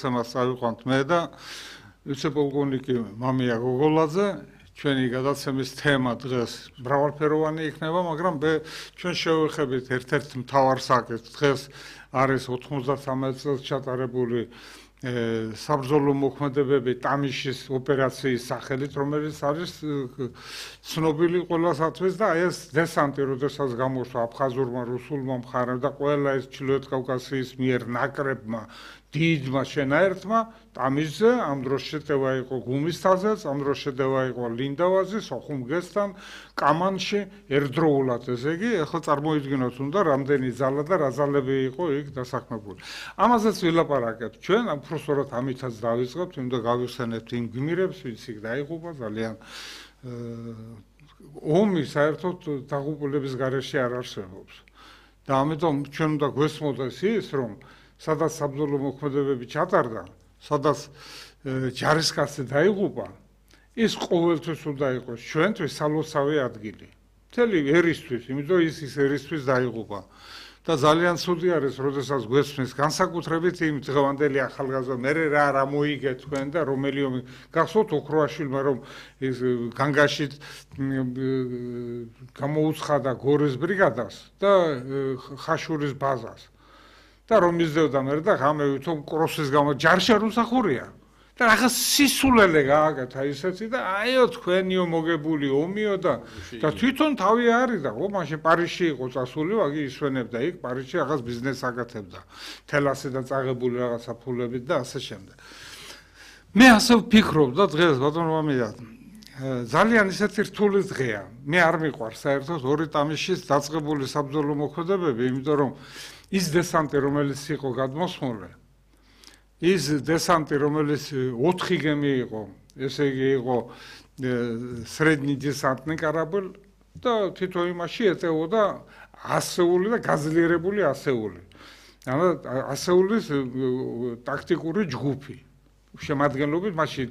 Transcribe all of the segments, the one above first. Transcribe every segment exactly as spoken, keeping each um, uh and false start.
სამას წავიყვანთ მე და ვიცე-პოლკოვნიკი მამია გოგოლაძე. ჩვენი გადაცემის თემა დღეს მრავალფეროვანი იქნება, მაგრამ ჩვენ შევეხებით ერთ-ერთ მთავარ საკითხს. დღეს არის ოთხმოცდასამი წელს ჩატარებული საბრძოლო მოქმედებები ტამიშის ოპერაციის სახელით, რომელიც არის ცნობილი ყველასათვის და აი ეს დესანტი, როდესაც გამოშვა აფხაზურმა, რუსულმა მხარემ და ყველა ეს ჩრდილოეთ კავკასიის მიერ ნაკრებმა დიდმა შენაერთმა ტამიშზე ამ დროს შეტევა იყო გუმისთაზეც, ამ დროს შეტევა იყო ლინდავაზის, ოხუმგესთან, კამანში ერთდროულად, ესე იგი, ახლა წარმოიდგინოთ უნდა რამდენი ძალა და რა ძალები იყო იქ დასაქმებული. ამაზეც ვილაპარაკებთ ჩვენ, უბრალოდ ამითაც დავიწყებთ, უნდა გავიხსენებთ იმ გმირებს, ვინც იქ დაიღუპა ძალიან ომი საერთოდ დაღუპულების გარეშე არ არსებობს. და ამიტომ ჩვენ უნდა გვესმოდეს ის, რომ სადაც საბრძოლო მოქმედებები ჩატარდა, სადაც ჯარისკაცი დაიღუპა, ის ყოველთვის უნდა იყოს ჩვენთვის სალოცავი ადგილი. მთელი ერისთვის, იმიტომ ის ის ერისთვის დაიღუპა. და ძალიან ცუდი არის, როდესაც გვესმის განსაკუთრებით იმ დღევანდელი ახალგაზრდა მე რა რა მოიგე თქვენ და რომელიომი გახსოვთ ოქროაშვილმა რომ ის განგაშით გამოუცხადა გორის ბრიგადას და ხაშურის ბაზას. და რომ მისდევდა მე და ღამე ვითომ კროსის გამო ჯარში არ უსახურია და რაღაც სისულელე გააკეთა ისეთი და აიო თქვენიო მოგებული ომიო და და თვითონ თავი არის და ო მაშინ პარიზში იყო წასული ვაგი ისვენებდა იქ პარიზში რაღაც ბიზნესს აკეთებდა თელასი და წაღებული რაღაცა ფულებით და ასე შემდეგ. მე ასე ვფიქრობ და დღეს ბატონო მამია ძალიან ისეთი რთული დღეა. მე არ მიყვარს საერთოდ ორი ტამიშის დაწყებული საბრძოლო მოქმედებები, იმიტომ რომ ის დესანტი, რომელიც იყო გადმოსმული, ის დესანტი, რომელიც ოთხი გემი იყო, ესე იგი იყო სრედნი დესანტნი კорабль და თითო იმაში ეწეოდა ასეული და გაძლიერებული ასეული. ანუ ასეულის ტაქტიკური ჯგუფი. შემადგენლობით მაშინ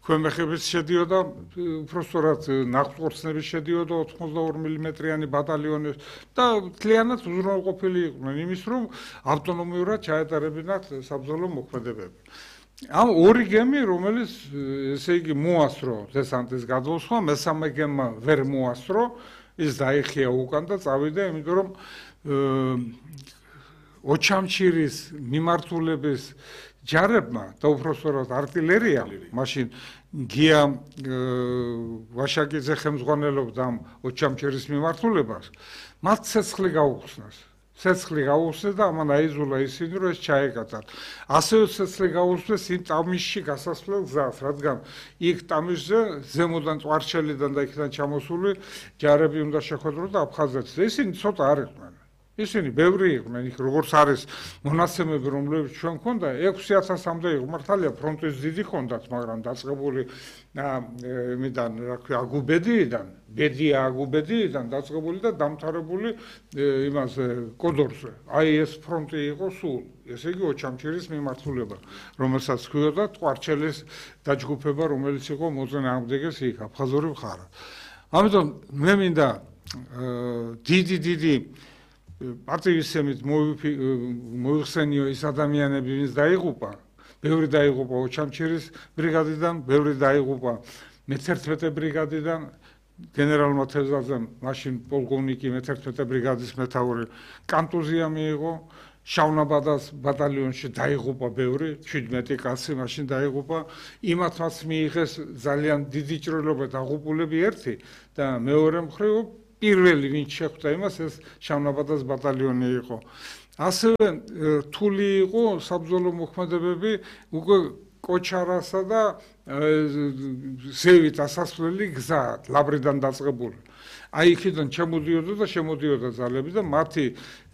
ქვემეხების შედიოდა უბრალოდ ნახტყორცნების შედიოდა ოთხმოცდაორი მილიმეტრიანი ბატალიონი და მთლიანად უზრუნველყოფილი იყვნენ იმის რომ ავტონომიურად ჩაეტარებინათ საბრძოლო მოქმედებები. ამ ორი გემი რომელიც ესე იგი მოასრო დესანტის გადმოსვლა, მესამე გემმა ვერ მოასრო, ის დაიხია უკან და წავიდა, იმიტომ რომ ოჩამჩირის მიმართულების ჯარებმა და უბრალოდ артиლერია მაშინ გია ვაშაკიძე ხელმძღვანელობდა ოჩამჩირის მიმართულებას მათ ცეცხლი გაუხსნეს ცეცხლი გაუხსნეს და ამან აიძულა ისინი რომ ეს ჩაეკატათ ასევე ცეცხლი გაუხსნეს იმ ტამიშში გასასვლელ გზას რადგან იქ ტამიშზე ზემოდან წვარჩელიდან და იქიდან ჩამოსული ჯარები უნდა შეხვედრონ და აფხაზეთს ისინი ცოტა არ იყვნენ ისინი ბევრი იყვნენ იქ როგორც არის მონაცემები რომლებიც ჩვენ გვქონდა ექვსი ათასამდე იყო მართალია ფრონტის დიდი ჰქონდათ მაგრამ დაწყებული იმიდან რა ქვია აგუბედიიდან ბედია აგუბედიიდან დაწყებული და დამთავრებული იმაზე კოდორზე აი ეს ფრონტი იყო სულ ესე იგი ოჩამჩირის მიმართულება რომელსაც ქვიოდა ტყვარჩელის დაჯგუფება რომელიც იყო მოწინე ამდეგეს იქ აფხაზური მხარა ამიტომ მე მინდა დიდი დიდი პარტივისემით მოიხსენიო ის ადამიანები, ვინც დაიღუპა, ბევრი დაიღუპა ოჩამჩირის ბრიგადიდან, ბევრი დაიღუპა მეთერთმეტე ბრიგადიდან, გენერალმა თევზაძემ, მაშინ პოლკოვნიკი მეთერთმეტე ბრიგადის მეთაური კანტუზია მიიღო, შავნაბადას ბატალიონში დაიღუპა ბევრი, შვიდმეტი კაცი მაშინ დაიღუპა, იმათაც მიიღეს ძალიან დიდი ჭრილობა დაღუპულები ერთი და მეორე მხრივ პირველი ვინც შეხვდა იმას ეს შავნაბადას ბატალიონი იყო. ასევე რთული იყო საბრძოლო მოქმედებები უკვე კოჩარასა და ზევით ასასვლელი გზა ლაბრიდან დაწყებული. აი იქიდან შემოდიოდა და შემოდიოდა ძალები და მათი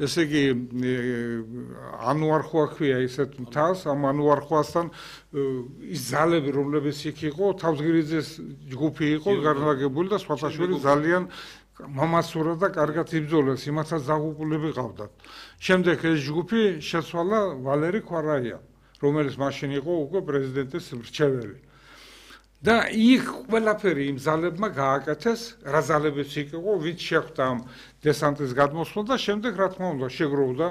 ესე იგი ანუარხვა ქვია ისეთ მთას ამ ანუარხვასთან ის ძალები რომლებიც იქ იყო თავზგირიძეს ჯგუფი იყო განლაგებული და სხვათაშორის ძალიან მამასურა და კარგად იბრძოლეს, იმათაც დაღუპულები ყავდათ. შემდეგ ეს ჯგუფი შეცვალა ვალერი ქვარაია, რომელიც მაშინ იყო უკვე პრეზიდენტის მრჩეველი. და იქ ყველაფერი იმ ძალებმა გააკეთეს, რა ძალებიც იქ იყო, ვინც შეხვდა ამ დესანტის გადმოსვლა და შემდეგ რა თქმა უნდა შეგროვდა